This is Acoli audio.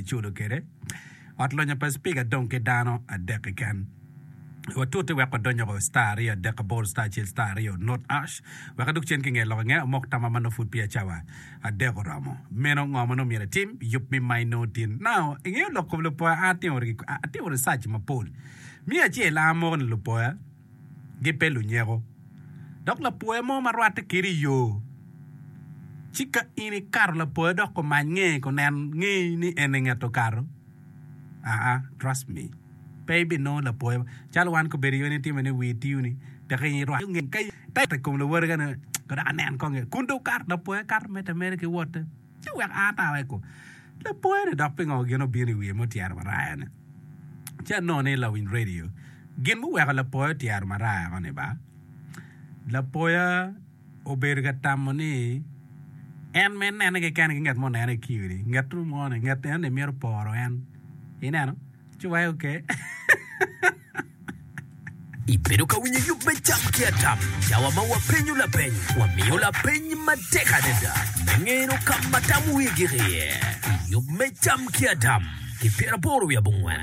iculo kwede. Ot lonyo pa cipika dong ki dano adek keken. Watute wek wadony oko star aryo adek aboro star acel star aryo not ash wek adug cen ki nge lok nge amok tama ma nongo pud peya cawa adek oromo. Meno ngo ma nongo myero itim? Yub mi ma inongo tin. Now, ingeyo lok kom lupoya an atimo atimo research mapol. Me acel an amoko ni lupoya gipe lunyeko. Dok lapoya mo ma rwatte kedi i yo ci ka in ikato lapoya dok omany nge kunen ngeyi ni eni nget okato aa trust me. Pe ibinongo lapoya calo wan kobedo iyo ni itime ni wii tiyo ni dok irwako nge ka i kom lawoti ka ni dok anen kong nge kun dong okato lapoya kato medde ameda ki wotte ci wek a ata weko lapoya ni dok pingo gin obino i wiye ma otyero maraya ni ci anongo ni lawiny radio gin muweko lapoya otyero maraya ko ni ba lapoya obedo ka tamo ni en ma enene kekene ki ngat mo onene i kiyo ni ngat mo ni ngat eno ni mito poro en ineno. Ci waye oke. Ibedo ka winyo yub me Cam ki Adam, cawa ma wapenyo lapeny, wamiyo lapeny matek adada me ngeno ka ma tam wigi gik iye. I yub me Cam ki Adam, ki pyeraboro wiye abongwen.